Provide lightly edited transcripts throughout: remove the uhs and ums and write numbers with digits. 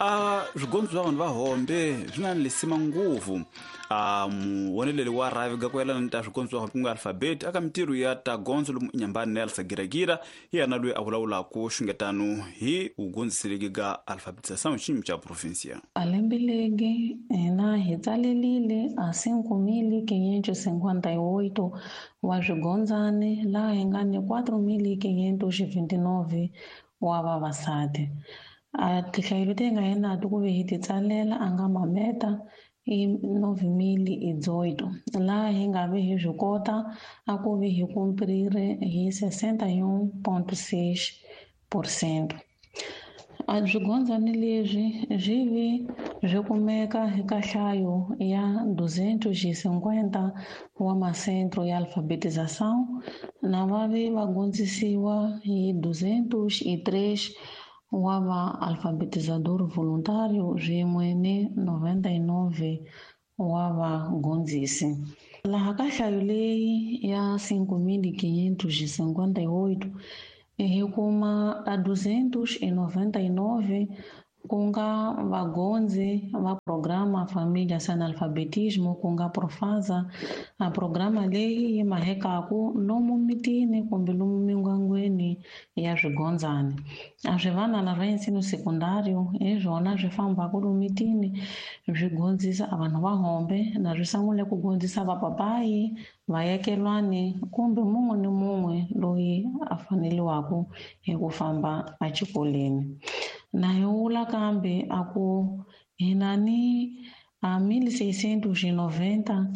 A swigondzo swa vanhu va hombe swi na lisima nguvu. A muwoneleli wa rhavi ga ku yelana ni ta swigondzo swa hombe ku nga alfabeti aka mintirho ya ta gondzo lomu inyambani Nel Sagilagira, hi yena loyi a vulavulaka xungetano hi vugondziseleki ga alfabetização xiyimo xa provinsia. A lembe legi hina hi tsalelile a 5.558 wa swigondzani, laha hi nga ni 4.529 wa vavasati. A tinhlayo leti hi nga hi nato ku ve hi ti tsalela a nga mameta i 9.018, laha hi nga ve hi swi kota a ku ve hi cumprir hi 61.6%. A swigondzani leswi swi vi swi kumeka eka nhlayo ya 250 wa masentro ya alfabetização, na va vi va gondzisiwa hi 203 wa va alfabetizador voluntário swin'we ni 99 wa vagondzisi. Laha ka nhlayo leyi ya 5.558 hi kuma a 299 ku nga vagondzi va programa Família Sem Analfabetismo, ku nga Profasa. A programa leyi yi mahekaku lomu mitini kumbe lomu mindyangwini ya swigondzani. A swivanana swa ensino sekundário hi swona swi fambaka lomu mitini swi gondzisa a vanhu va hombe, na swi sungule ku gondzisa vapapayi, vayakelwani kumbe mun'we ni mun'we loyi a faneliwaku hi ku famba exikolweni. Na hi vula kambe a ku hi na ni a 1690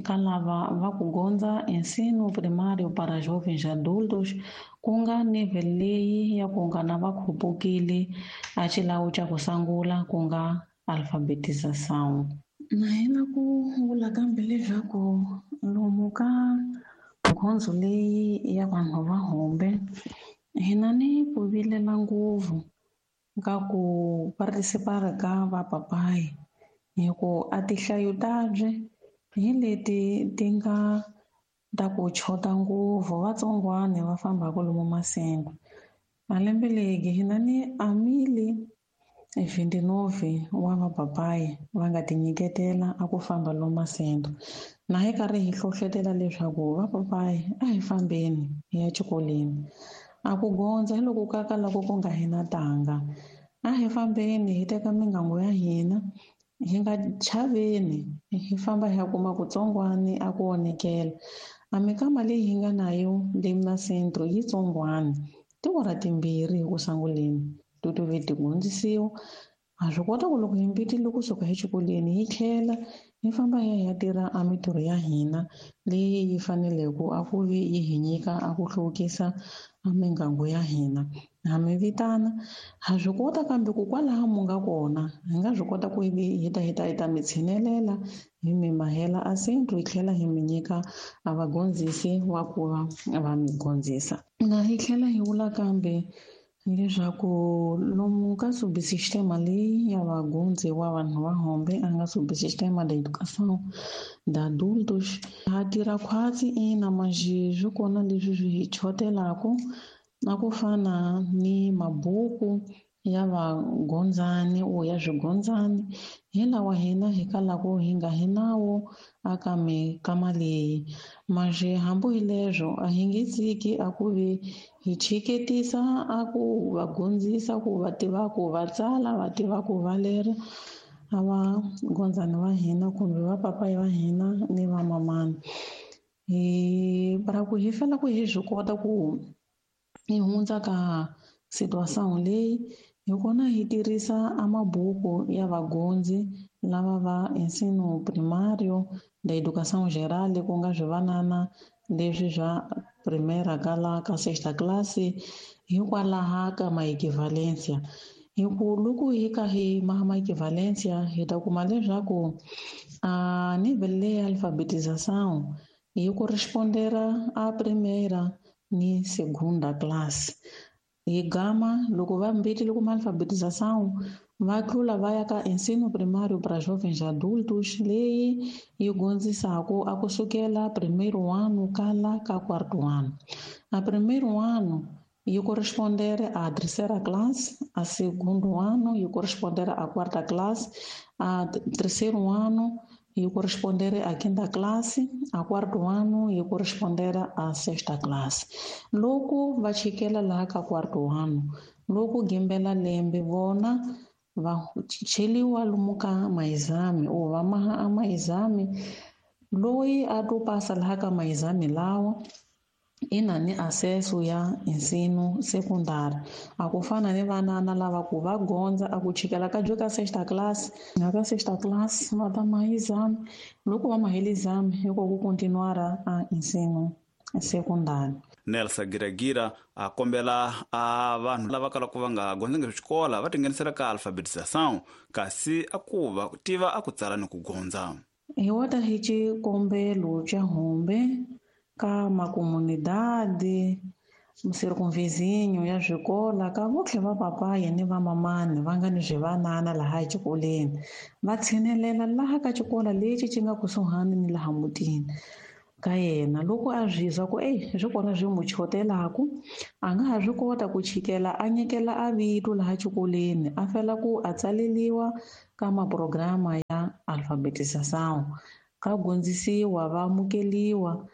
ka lava va ku gondza ensino primário para jovens adultos, ku nga nível leyi ya ku nga na va khupukile a xilawu xa ku sungula ku nga alfabetização. Na hina ku vula kambe leswaku lomu ka gondzo leyi ya vanhu va hombe hina ni ku vilela ngopfu ka ku participar ka vapapayi, hi ku a tinhlayo tabye hi leti ti nga ta ku chota ngopfu, vatsongwana va fambaka lomu masengo. Malembe legi hina ni a mili 29 wa vapapayi va nga tinyiketela a ku famba lomu masengo. Na hi karhi hi hlohlotela leswaku vapapayi a hi fambeni hi ya xikolweni. A ku gondza hi loko ka ka loko ku nga hina tanga. A hi fambeni hi teka mingangu ya hina, hi nga chaveni, hi famba hi ya kuma kutsongwani a ku onhekela. A mikama leyi hi nga na yo le masentro yi tsongwani, tiawara timbirhi hi ku sunguleni to to ve ti hundzisiwa. Ha swi kota ku loko hi mbitile kusuka exikolweni hi tlhela hi famba hi ya hi ya tirha a mintirho ya hina leyi yi faneleke a ku vi yi hi nyika a ku hluvukisa a mingangu ya hina. Ha mi vitana, ha swi kota kambe ku kwalaho mu nga kona hi nga swi kota ku hi ta hi ta hi ta mi tshinelela hi mi mahela a sentro hi tlhela hi mi nyika a vagondzisi wa ku va va mi gondzisa. Na hi tlhela hi vula kambe leswaku lomu ka subsistema leyi ya vagundzi wa vanhu va hombe a nga subsistema da educação da adultos ha tirha khwatsi ina manjhe swi kona leswi swi hi chotelaku na ku fana ni mabuku ya vagondzani o ya swigondzani hi lawa hina hi kalaku hi nga hi nawo aka mikama leyi. Manjhe hambi hi leswo a hi nge tshiki a ku vi hi chiketisa a ku va gondzisa ku va tiva ku va tsala, va tiva ku va lera a va gondzani va hina kumbe va papayi va hina ni va mamani. Hi ra ku hi fanele ku hi swi kota ku hi hundza ka situação leyi hi kona hi tirhisa a mabuku ya vagondzi lava va ensino primário da educação geral, ku nga swivanana leswi swa primeira ka la ka sexta classe hikwalaho ka maequivalência. Hi ku loko hi ka hi ma maequivalência hi ta kuma leswaku a nível leyi ya alfabetização yi correspondera a primeira ni segunda classe. Hi gama loko va mbitile kuma alfabetização va tlula va ya ka ensino primário para jovens adultos leyi yi gondzisaka a kusukela primeiro ano ka la ka quarto ano. A primeiro ano Yi correspondere à terceira classe, a segundo ano e correspondere à quarta classe, a terceiro ano e correspondere à quinta classe, a quarto ano e correspondere à sexta classe. Loko va chikela laha ka quarto ano, loko gimbela lembe vona va cheliwa lomu ka maexame or va maha a maexame, loyi a to pasa laha ka maexame lawa i na ni acesso ya ensino secundário. A ku fana ni vanana lava ku va gondza a ku chikela ka ka sexta classe, na ka sexta classe va ta maha exame, loko va mahele exame hi ko ku continuara a ensino secundário. Nelson Giragira a kombela a vanhu lava kalaka va nga gondzangi xikola va tinghenisela ka alfabetização, kasi a ku va tiva a ku tsala ni ku gondza. Hi wota hi xikombelo xa hombe ka makomunidade circunvizinho ya swikola ka votlhe va papayi ni va mamani va nga ni swivanana laha exikolweni, va tshinelela laha ka xikolo lexi xi nga kusuhani ni laha mutini ka yena. Loko a swi twa ku ey swi kona swi n'wi chotelaku, a nga ha swi kota ku chikela a nyikela a vito laha xikolweni, a fela ku a tsaleliwa ka maprograma ya alfabetização, ka gondzisiwa va amukeliwa.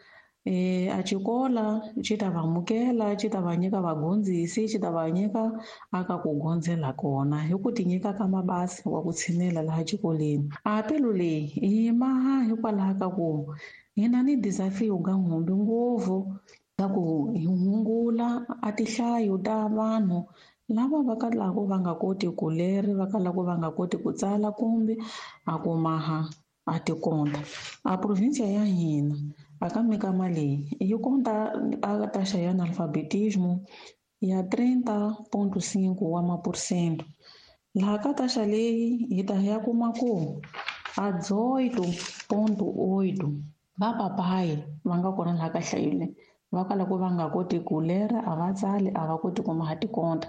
A xikola xi ta va amukela, xi ta va nyika vagondzisi, xi ta va nyika aka ku gondzela kona hi ku ti nyika ka mabasi wa ku tshinela laha xikolweni. A pelu leyi yi maha hikwalaho ka ku hi na ni desafio ga nhumbi ngopfu ta ku hi hungula a tinhlayo ta vanhu lava va kalaka va nga koti ku leri, va kalaka va nga koti ku tsala kumbe a ku maha a tikonta. A provinsia ya hina aka mikama leyi yi konta a taxa ya analfabetismo ya 30.5 wa maphesente. Laha ka taxa leyi hi ta ya kuma ku a 18.8 va papayi va nga kona laha ka nhlayo leyi, va kalaka va nga koti ku lera, a va tsali, a va koti ku maha tikonta.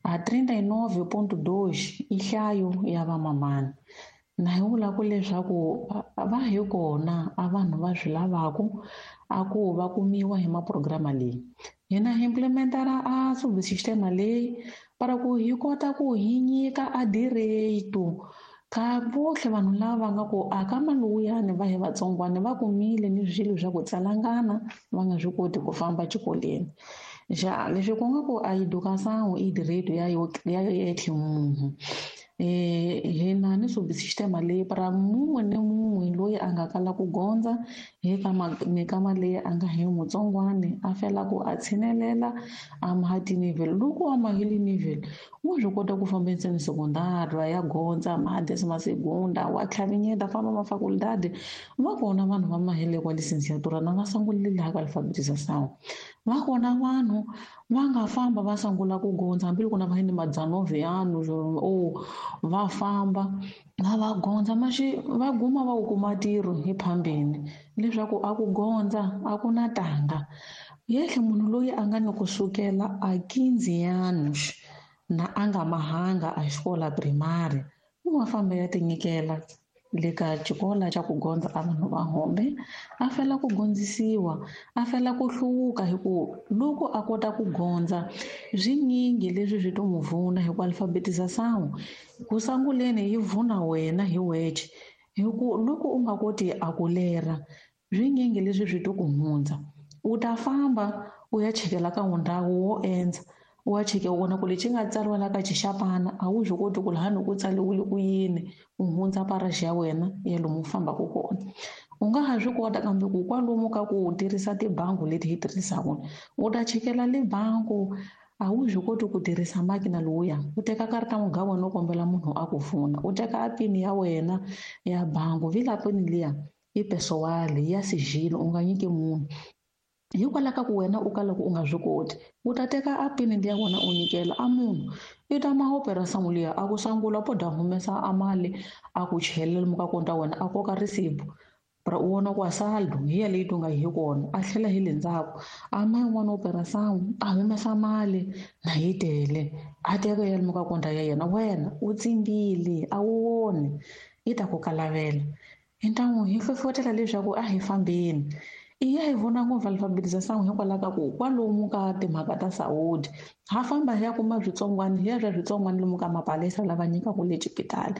A 39.2 i nhlayo ya vamamani. Na hi vula ku leswaku va hi kona a vanhu va swi lavaku a ku va kumiwa hi maprograma leyi. Hina hi implementara a subsistema leyi para ku hi kota ku hi nyika a direito ka votlhe vanhu lava va nga ku a ka maluyani va hi vatsongwana va kumile ni swilo swa ku tsalangana va nga swi koti ku famba xikolweni. Ja leswi ku nga ku a educação i direito ya yo ya yetlhe munhu. Hina ni subsistema leyi para mun'we ni mun'we loyi a nga kala ku gondza hi ka mikama leyi a nga hi mutsongwani a fela ku a tshinelela a maha ti-nivel. Loko a mahile nivel wa swi kota ku famba endzeni sekondari ya gondza maha décima segunda wa tlhavinyeta famba mafakultadi. Va kona vanhu va mahile kwa licenciatura na va sungulile laha ka alfabetização. Va kona vanhu va nga famba va sungula ku gondza hambiloko na va ni madzanove yanu o va famba va va gondza maxi va guma va wu kuma ntirho hi phambeni leswaku a ku gondza a ku na tanga. Yehle munhu loyi a nga ni kusukela a 15 anos na a nga mahanga a xikola primary u nga famba ya tinyikela le ka xikola xa ku gondza a vanhu va hombe, a fela ku gondzisiwa, a fela ku hluvuka hi ku loko a kota ku gondza swinyingi leswi swi to n'wi vuna hi ku alfabetização ku sunguleni yi vuna wena hi wexe hi ku loko u nga koti a ku lera swinyingi leswi swi to ku hundza. U ta famba u ya chekela ka ndhawu wo endza, wa cheke u vona ku lexi nga tsariwa la ka xixapana a wu swi koti ku laha ni ku tsariwile ku yini, u hundza paraxi ya wena ya lomu u fambaka kona. U nga ha swi kota kambe ku kwalomu ka ku tirhisa tibangi leti hi tirhisaka, u ta chekela le bangi a wu swi koti ku tirhisa makina lowuya, u teka karata muga wena u kombela munhu a ku pfuna, u teka a pini ya wena ya bangi, vila pini liya i pesowali ya sigilo u nga nyiki munhu. Hikwalaho ka ku wena u kala ku u nga swi koti, u ta teka a pini liya wena u nyikela a munhu, i ta ma operação liya a ku sungula po da humesa a mali a ku chelela lomu ka konta wena a koka risipu para u vona ku a saldo hi ya leyi to nga hi kona, a tlhela hi le ndzhaku a ma yin'wana operação a humesa mali na yi tele a teka ya lomu ka konta ya yena, wena u tsimbile a wu voni, yi ta ku kalavela. Hi ntangu hi hlohlotela leswaku a hi fambeni I ya hi vona ngopfu alfabetization hikwalaho ka ku kwalomu ka timhaka ta saúde ha famba hi ya kuma switsongwana hi ya swa switsongwana lomu ka mapalesa lava nyikaka le xipitali.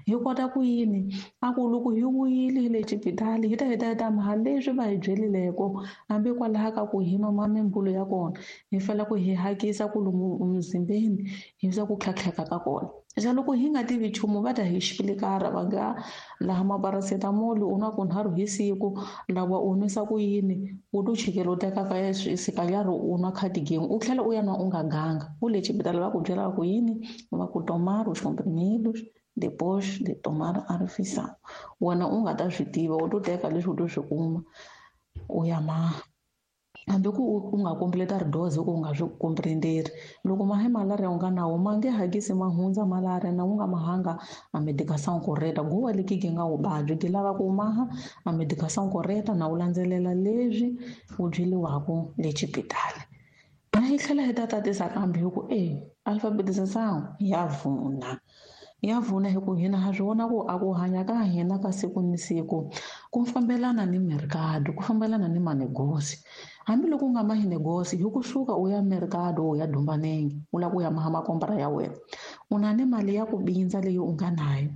Hi kota ku yini a ku loko hi vuyile hi le xipitali hi ta hi ta hi ta maha leswi va hi byelileko hambi kwalaho ka ku hi nwa mimbulu ya kona hi fanele ku hi hakisa ku lomu emzimbeni hi swa ku tlhatlheka ka kona. Xa loko hi nga tivi nchumu va ta hi xipilikara va nga laha maparacetamol u nwa kunharhu hi siku lawa u nwisa ku yini u to chikela u teka ka sikanyarhi u nwa cardigan u tlhela u ya nwa u nga ganga u le xipitali va ku byela va ku yini va ku tomar os comprimidos depois de tomar a refeição wena u nga ta swi tiva u to teka leswi u to swi kuma u ya maha. Hambi ku u nga completa ri dose ku u nga swi comprenderi loko mahe malaria u nga nawo ma nge hakisi ma hundza malaria na u nga mahanga a medicação correta guwa leki gi nga wu vabyi gi lava ku maha a medicação correta na u landzelela leswi u byeliwaku le xipitali. Na hi tlhela hi ta tatisa kambe hi ku alfabetization ya vuna. Ya vuna hi ku hina ha swi vona ku a ku hanya ka hina ka siku ni siku ku fambelana ni mercado ku fambelana ni manegosi. Hambiloko u nga mahi negosi hi kusuka u ya mercado u ya Dumbanenge u lava ku ya maha makombra ya wena u na ni mali ya ku bindza leyi u nga nayo.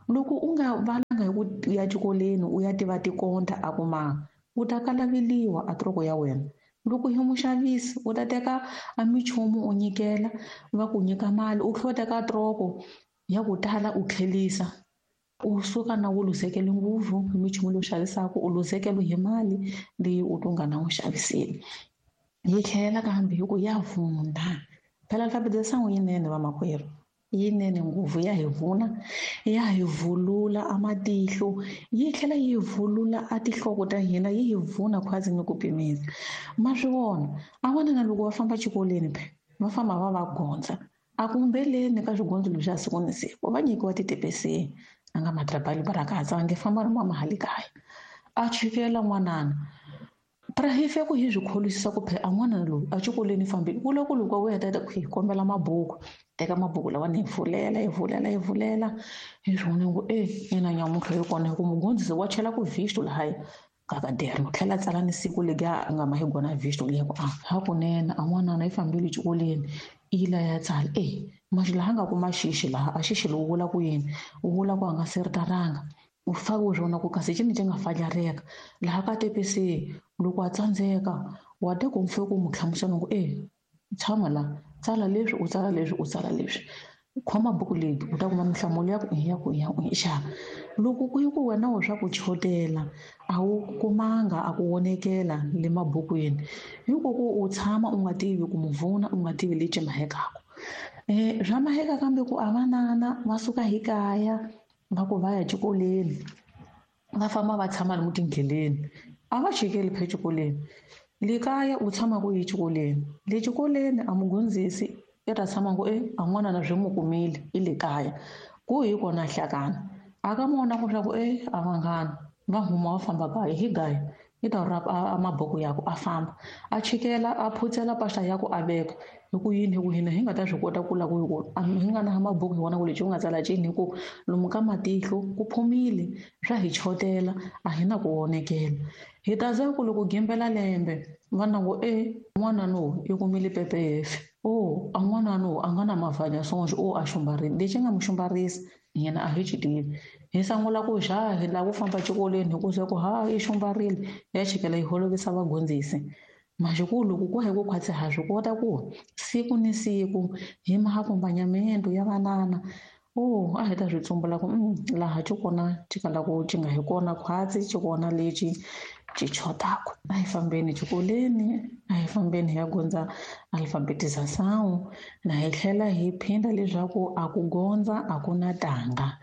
Loko u nga valanga hi ku ya xikolweni u ya tiva tikonta a ku maha u ta kalaveliwa a troko ya wena. Loko hi muxavisi u ta teka a minchumu u nyikela va ku nyika mali u tlhela u teka troko ya ku tala u tlhelisa u suka na wu luzekele ngopfu hi minchumu leyi u xavisaka u luzekele hi mali leyi u to nga na wu xaviseli. Yi tlhela kambe hi ku ya vuna phela alfabetization yinene vamakwerhu yinene ngopfu ya hi vuna ya hi vulula a matihlo yi tlhela yi vulula a tinhloko ta hina yi hi vuna khwazi ni ku pimisa. Ma swi vona a vona na loko va famba xikolweni phe va famba va va gondza a kumbeleni ka swigondzo leswi ya siku ni siku va nyikiwa titepesi a nga matrabali barakatsa va nge famba ri mama hale kaya a chikela n'wanana pra hi fika ku hi swi kholisisa ku phe a n'wana loyi a xikolweni fambile ku le ku loko u heta ku hi kombela mabuku teka mabuku lawa ni hi pfulela hi pfulela hi pfulela hi swi vona ku ina nyamuntlha yi kona hi ku mugondzisi wa chela ku visto lahaya ka kaderno tlhela tsala ni siku legi a nga ma hi gona visto leyi ku a hakunene a n'wanana yi fambile xikolweni ila ya tsala maxi laha nga kuma xixi laha a xixi lowu vula ku yini wu vula ku a nga siritaranga u fake u swona ku kasi cini xi nga fajareka laha ka TPC loko a tsandzeka wa te ku mfe ku mu hlamusela ku tshama la tsala leswi u tsala leswi u tsala leswi khoma buku leyi u ta kuma minhlamulo ya ku ya ku ya ku xa loko ku yi ku wena u swa ku chotela a wu kumanga a ku vonekela le mabukwini hiko ku u tshama u nga tivi ku muvuna u nga tivi lexi mahekaka swa maheka kambe ku a vanana va suka hi kaya va ku va ya xikolweni va famba va tshama lomu tindleleni a va chikeli phe xikolweni le kaya u tshama ku yi xikolweni le xikolweni a mugondzisi i ta tshama ku a n'wana na swi n'wi kumile i le kaya ku hi kona hlakana a ka mona ku swa ku a vanghana va huma va famba kaya hi gaya i ta rapa a mabuku ya ku a famba a chikela a phutsela mpahla ya ku a veka hi ku yini hi ku hina hi nga ta swi kota ku la ku hi ku hi nga na mabuku hi vona ku lexi u nga tsala cini hi ku lomu ka matihlo ku phumile swa hi chotela a hi na ku vonekela. Hi ta za ku loko gimbela lembe va na ku n'wana no i kumile PPF a n'wana no a nga na mavhanya sonje a xumbarile lexi nga mu xumbarisa yena a hi xi tivi hi sungula ku xa hi lava ku famba xikolweni hi ku se ku ha i xumbarile ya chikela yi holovisa vagondzisi. Maxikulu loko ku hi ku khwatsi ha swi kota ku siku ni siku hi mahakombanyamento ya vanana a hi ta swi tsumbula ku laha xi kona xi kala ku xi nga hi kona khwatsi xi kona lexi xi chotaka. A hi fambeni xikolweni a hi fambeni hi ya gondza alfabetization na hi tlhela hi phinda leswaku a ku gondza a ku na tanga.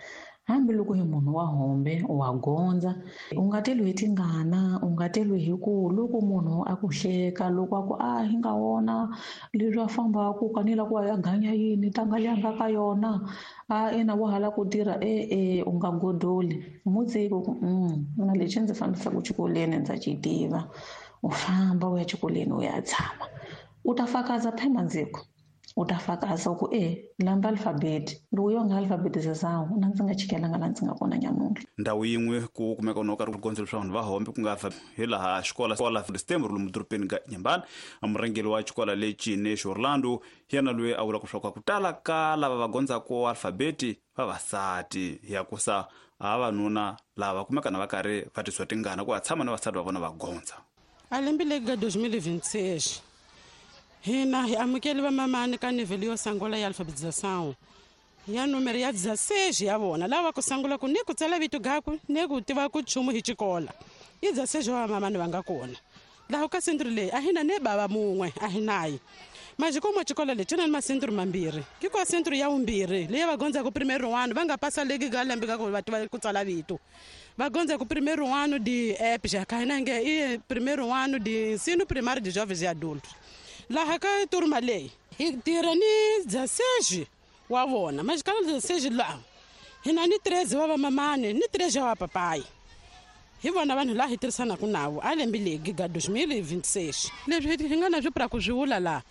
Hambiloko hi munhu wa hombe wa gondza u nga teli hi tingana u nga teli hi ku loko munhu a ku hleka loko a ku a hi nga wona leswi a fambaka ka ni la ku ya ganya yini tanga leyi a nga ka yona a ina wa hala ku tirha u nga godoli mutsiki ku na lexi ndzi fambisaka xikolweni ndza xi tiva u famba u ya xikolweni u ya tshama u ta fakaza phema ndziko. U ta fakaza ku e lamba alfabeti loko yo nga alfabetização na ndzi nga chikelanga la ndzi nga kona nyamuntlha. Ndhawu yin'we ku kumeka no karhi ku gondzo leswaku vanhu va hombe ku nga hi laha xikola xikola Stember lomu dorobeni ka Nyambani. Murhangeri wa xikola lexi Nexo Orlando yena loyi a vulaka leswaku ku tala ka lava va gondzaka alfabeti vavasati ya kusa vavanuna lava kumeka na va karhi va tisiwa tingana ku va tshama na vasati va vona va gondza. A lembe leri ka 2026 hina hi amukeli vamamani ka nivheli yo sungula ya alfabetização ya numero ya 16 ya vona lava ku sungula ku ni ku tsala vito gaku ni ku tiva ku nchumu hi xikola i 16 wa vamamani va nga kona laha ka sentro leyi a hina ne bava mun'we a hi nayi majikomo xikolo lexi na masentro mambirhi ki kwa sentro ya vumbirhi leyi va gondzaka primeiro ano va nga pasa leki ka lembe ka ku va tiva ku tsala vito va gondzaka primeiro ano de app já ka hina nge i primeiro ano de ensino primário de jovens e adultos. Laha ka turma leyi hi tirha ni 16 wa vona mas ka 16 laha hina ni 13 wa vamamani ni 3 wa papai hi vona vanhu laha hi tirhisanaka navo a lembe legi ga 2026 leswi hi nga na swi pra ku swi vula laha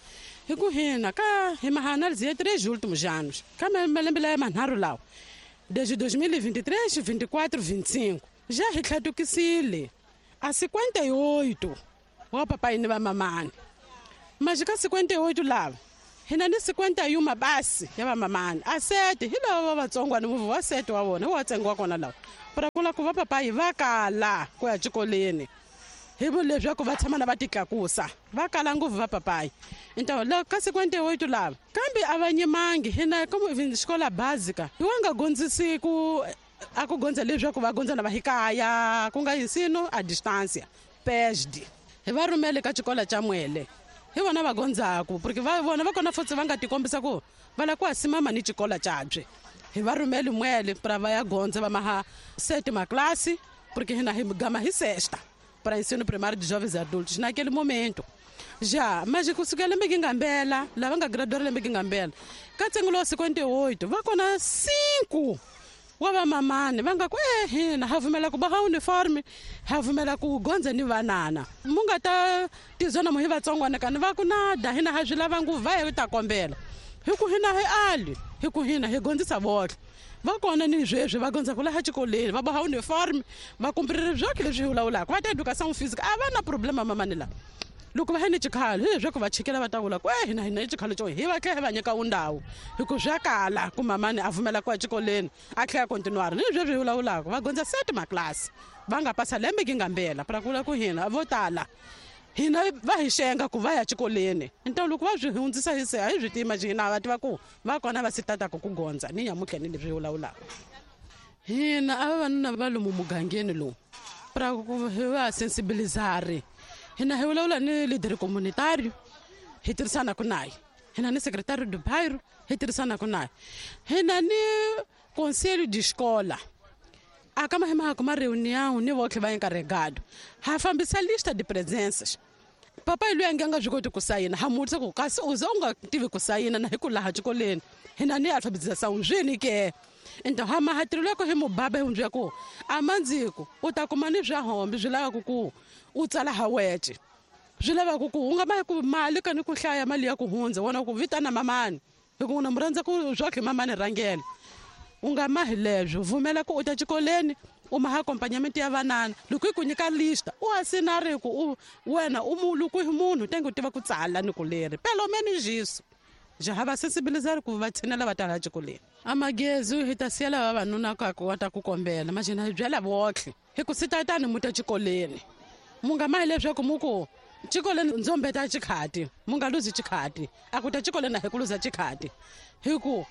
hi ku hina ka hi maanálise ya 3 últimos anos ka malembe laya manharhu lawa desde 2023 24 25 já hi tlhatukisile a 58 wa papai ni vamamani. Mas ka 58 lava hina ni 51 basi ya vamamani a sete hi lava va vatsongwana muvi wa sete wa vona wa ntsengo wa kona lawa pra kula ku va papai va kala ku ya xikolweni hi leswaku va tshama na va titlakusa va kala ngopfu va papai. Então la ka 58 lava kambe a va nyimangi hina como xikola básica hi wa nga gondzisi ku a ku gondza leswaku va gondza na va hikaya ku nga ensino a distância PESD hi va rhumele ka xikola xa Mwele hi vona va gondzaku porque va vona va kona futhi va nga tikombisa ku va lava ku asimama ni xikola xabye hi va rhumele Mwele pra va ya gondza va maha sete maklasi porque hina hi gama hi sexta para ensino primário de jovens e adultos naquele momento. Já, mas kusukela lembe ngambela lava nga graduar lembe ngambela ka ntsengo lowa 58 va kona 5 wa vamamani va nga ku hina ha pfumela ku boha uniforme ha pfumela ku gondza ni vanana mu nga ta tizona mu hi vatsongwana kani va ku nada hina ha swi lava ngopfu va hi ta kombela hi ku hina hi ali hi ku hina hi gondzisa vohle va kona ni sweswi va gondza ku laha xikolweni va boha uniforme va kumpiriri byoke leswi hi vulavulaka va ta educação física a va na problema mamani lawa loko va hi ni xikhalo hi leswaku va chikela va ta vula ku hina hina i xikhalo xo hi va tlhela hi va nyika wundhawu hi ku swa kala ku mamani a pfumela ku ya xikolweni a tlhela continuar ni leswi hi vulavulaka va gondza sete maklasi va nga pasa lembe ki ngambela pra ku vula ku hina vo tala hina va hi xenga ku va ya xikolweni então loko va swi hundzisa hi se a hi swi tima hina va tiva ku va kona va si tataka ku gondza ni nyamutlha ni leswi hi vulavulaka hina a vavanuna va lomu mugangeni lowu pra ku hi va sensibilizari hina hi vulavula ni leader communitario hi tirhisanaka naye hina ni secretario do bairro hi tirhisanaka naye hina ni conselho de escola a ka mahimahako ma reunião ni votlhe va encarregado ha fambisa lista de presenças papai loyi a nge a nga swi koti ku sayina ha mutisa ku kasi u ze u nga tivi ku sayina na hi ku laha xikolweni hina ni alfabetização swini ke então ha mahatirelo ya ku hi mubaba hi hundzia ku a mandziku u ta kuma ni swa hombe swi lavaka ku u tsala ha wece swi lavaka ku u nga ma ku mali ka ni ku hlaya mali ya ku hundza wona ku vitana mamani hi ku na mu rhandza ku swakhe mamani rhangela u nga mahi leswo vumela ku u ta xikolweni u maha acompanhamento ya vanana loko yi ku nyika lista u asinari ku u wena u loko hi munhu tenge u tiva ku tsala ni ku leri pelo menos isso já ha va sensibilizar ku va tshinela va ta laha xikolweni a magezi hi ta siyela vavanuna ka ku va ta ku kombela majena hi byela votlhe hi ku sitatani mu ta xikolweni mu nga mahi leswaku mu ku xikolweni ndzo mbeta xikhati mu nga luzi xikhati a ku ta xikolweni a hi ku luza xikhati hi ku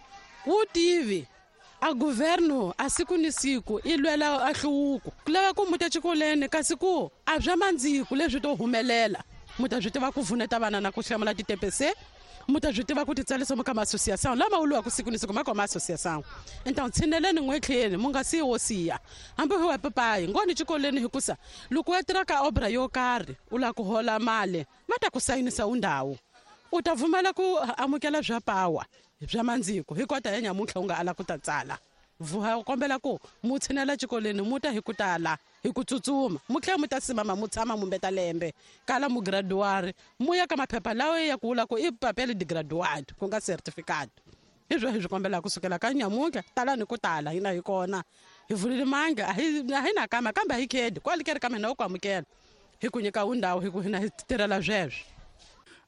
wu tivi a governo a siku ni siku i lwela a hluvuko ku lava ku muta xikolweni kasi ku a swa mandziku leswi to humelela mu ta swi tiva ku pfuneta vana na ku hlamula ti-TPC mu ta swi tiva ku titsarisa mu ka ma-associação lama wuliwaka siku ni siku ma ka ma-associação então tshineleni n'wetlheni mu nga siyi wo siya hambi hi wa papayi ngoni xikolweni hikusa loko wa tirha ka obra yo karhi u lava ku hola mali va ta ku sayinisa undhawu u ta pfumela ku amukela swa pawa bya mandziko hi kota ya nyamuntlha u nga ala ku ta tsala vuha kombela ku mu tshinela xikolweni mu ta hi ku tala. hi ku tsutsuma mu tlhela mu ta simama mu tshama mu mbeta lembe kala mu graduari mu ya ka maphepha lawa ya ku vula ku i papel de graduado ku nga certificate. Hi swo hi swi kombelaka kusukela ka nyamuntlha talani ku tala hina hi kona hi vulile mange a hi na kama kambe a hi khedi kwale ke ri ka mina u ku amukela hi ku nyika wundhawu hi ku hina hi tirhela sweswo.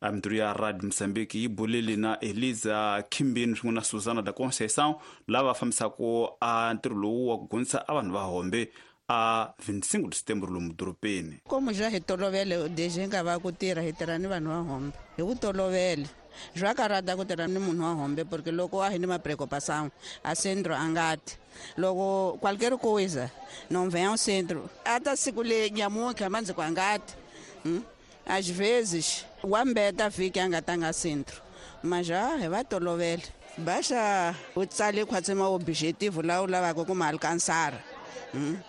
Mintirho ya Radio Mozambique yi bulile na Eliza Khimbini swin'we na Susana da Conceição lava fambisaka a ntirho lowu wa ku gondzisa a vanhu va Hombe a 25 de setembro lomu dorobeni. Como já hi tolovele desde nga va ku tirha hi tirha ni vanhu va Hombe hi ku tolovele swa karata ku tirha ni munhu wa Hombe porque loko a hi ni mapreocupação a centro a nga ti loko qualquer coisa não vem ao centro ata siku le nyamuntlha mandzi ku a nga ti. Às vezes wa mbeta vhiki a nga tanga centro mas já hi va tolovele baixa u tsale khwatsi ma objetivo lawa u lavaka ku ma alcançar.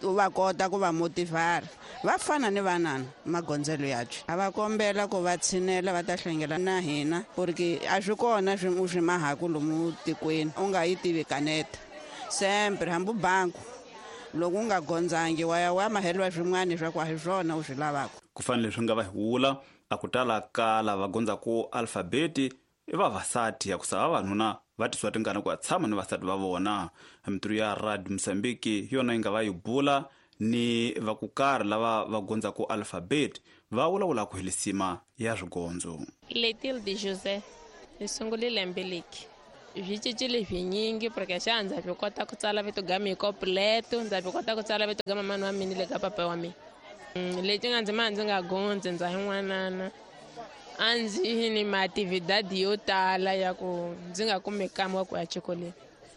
U va kota ku va motivar va fana ni vanana magondzelo yabyo a va kombela ku va tshinela va ta hlengela na hina porque a swi kona swi u swi mahaku lomu tikweni u nga yi tivi kaneta sempre hambi banku loko u nga gondzangi wa ya wa maheliwa swin'wana swa ku a hi swona u swi lavaka. Ku fanele swi nga va hi vula a ku tala ka lava gondzaku alfabeti i vavasati ya ku sa vavanuna va tisiwa tingana ku ya tshama ni vasati va vona. Mintirho ya Radio Mozambique hi yona yi nga va yi bula ni va ku karhi lava va gondzaku alfabeti va vulavula ku helisima ya swigondzo. Letil de José hi sungule lembe leki swi cincile swinyingi porque xa ndza swi kota ku tsala vito ga mina completo ndza swi kota ku tsala vito ga mamani wa mina le ka papa wa mina. Leti nga ndzi ma ndzi nga gondzi ndza hi n'wanana a ndzi ni maatividadi yo tala ya ku ndzi nga kumi kama wa ku ya xikolweni.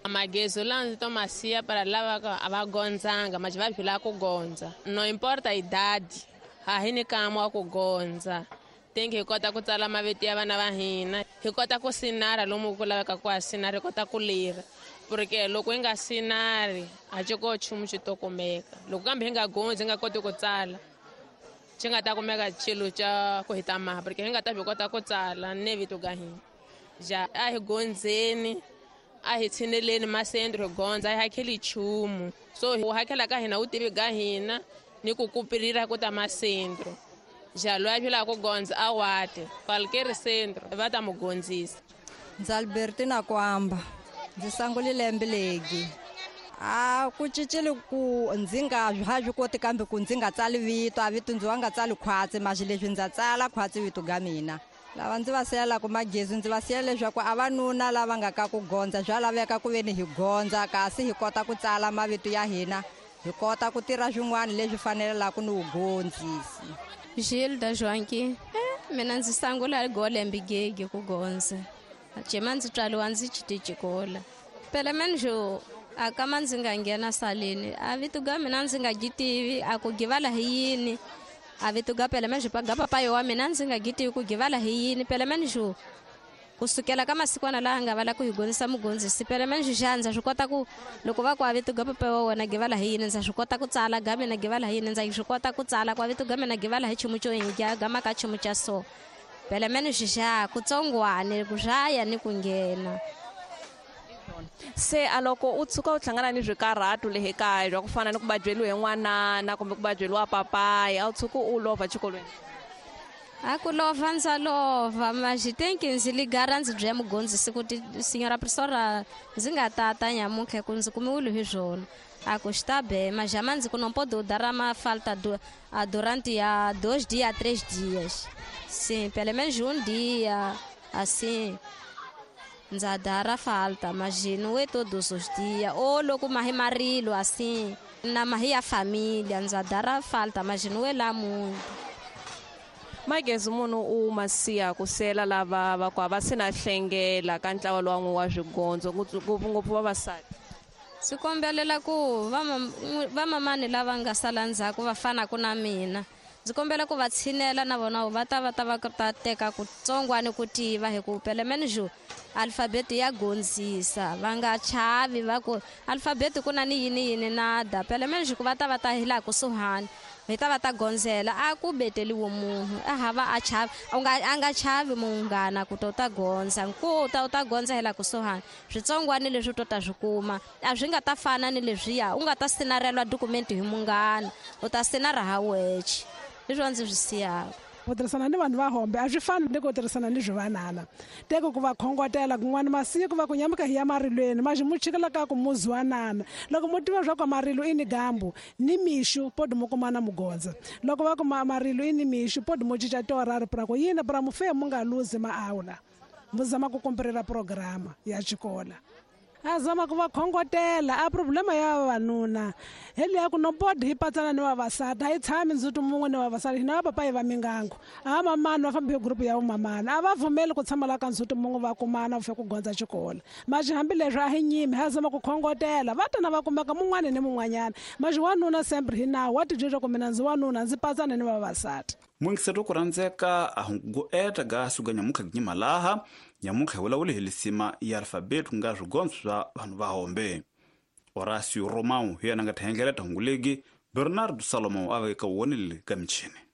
Magezo lawa ndzi to ma siya para lava a va gondzanga ma va phila ku gondza no importa idadi a hi ni kama wa ku gondza tenke hi kota ku tsala mavito ya vana va hina hi kota ku sinara lomu ku laveka ku a sinara hi kota ku lira porque loko hi nga sinari a xi ko nchumu xi to kumeka loko kambe hi nga gondzi hi nga koti ku tsala xi nga ta kumeka xilo xa ku hi ta maha porque hi nga ta swi kota ku tsala ne vito ga hina. Ja a hi gondzeni a hi tshineleni masendro hi gondza a hi hakeli nchumu so u hakela ka hina u tivi ga hina ni ku kupirira ku ta masendro. Ja loyi a philaka ku gondza a wate qualquer centro va ta mu gondzisa. Ndzi Albertina Kwamba ndzi sungule lembe legi a ku cincile ku ndzi nga ha swi koti kambe ku ndzi nga tsali vito a vito ndzi wa nga tsali khwatsi maxi leswi ndza tsala khwatsi vito ga mina. Lava ndzi va siyelaka magezi ndzi va siyela leswaku a vanuna lava nga ka ku gondza swa laveka ku veni hi gondza kasi hi kota ku tsala mavito ya hina hi kota ku tirha swin'wana leswi fanelaka ni vugondzisi. Gilda Joanqui mina ndzi sungula golembe gege ku gondza jema ndzi tswaliwa ndzi xikola phela menjo a kama ndzi nga nghena saleni a vito ga mina ndzi nga gitivi a ku givala hi yini a vito ga phela menjo pa ga papayo wa mina ndzi nga gitivi ku givala hi yini phela menjo kusukela ka masikwana laha nga vala ku hi gondzisa mugondzisi phela menjo xa ndza swi kota ku loko va ku a vito ga papa wa wena givala hi yini ndza swi kota ku tsala ga mina givala hi yini ndza swi kota ku tsala ku a vito ga mina givala hi chumu xo yini ga maka chumu xa so phela menjo xa kutsongwane ku swaya ni ku nghena. Se a loko u tshuka u hlangana ni swikarhatu le kaya bya ku fana ni ku badyeliwa hi n'wanana kumbe ku badyeliwa papayi a wu tshuki u lova xikolweni? A ku lova ndza lova maxi tenki ndzi ligara ndzi bya mugondzisi ku ti senhora professora ndzi nga tata nyamuntlha ku ndzi kumiwile hi swona a ku xi ta be majama ndzi ku não pode dar uma falta durante a 2 dias 3 dias sim pelo menos um dia assim ndza dara falta mas não é todos os dias ou loko mahi marilo assim na mahi ya família ndza dara falta mas não é lá muito. Magezi munhu u ma siya ku sela lava va ku a va se na hlengela ka ntlawa lowa wa swigondzo ngopfungopfu vavasati. Swi kombelela ku vamamani lava nga sala ndzhaku va fanaka na mina ndzi kombela ku va tshinela na vona va ta va ta va ta teka kutsongwani ku tiva hi ku phela menjo alfabeti ya gondzisa va nga chavi va ku alfabeti ku na ni yini yini nada phela menjo ku va ta va ta hi laha kusuhani Hi ta va ta gondzela a ku beteliwe munhu a hava a chavi a nga chavi munghana ku ta u ta gondza ku ta u ta gondza hela kusuhani switsongwani leswi u to ta swi kuma a swi nga ta fana ni leswiya u nga ta sinarelwa dokumenti hi munghana u ta sinara ha wexe hi swona ndzi swi siyaka. Ku tirhisana ni vanhu va hombe a swi fani ni ku tirhisana ni swivanana teko ku va khongotela kun'wana masiku va ku nyamuka hi ya marilweni maxi mu chikela ka ku muzwanana loko mu tiva swa ku marilo i ni gambu ni mixu podi mu kumana mugondza loko va ku marilo i ni mixu podi mu cinca tiorari pra ku yini pra mu fe mu nga luzi maawula mu zama ku kumperela programa ya xikola a zama ku va khongotela a problema ya vavanuna hi leya ku nobodi hi patsana ni vavasati a yi tshami ndzhuti mun'we ni vavasati hina va papa hi va mingango a mamani va fambi hi gurupu ya vumamani a va pfumeli ku tshama la ka ndzhuti mun'we va kumana ku fika ku gondza xikolo maxi hambileswi a hi nyimi ha zama ku khongotela va tana va kumeka mun'wani ni mun'wanyana maxi wanuna sempre hi nawu wa tidyondza ku mina ndzi wanuna ndzi patsana ni vavasati. Muyingiseri wa ku rhandzeka a hungu eta ga suka nyamunkha ginyimalaha nyamunkha hi vulavule hi lisima ya alfabeti ku nga swigondzo swa vanhu va hombe. Horacio Romão hi yena nga ta hengeleta hungu legi Bernardo Salomão a veka wonile ka michini.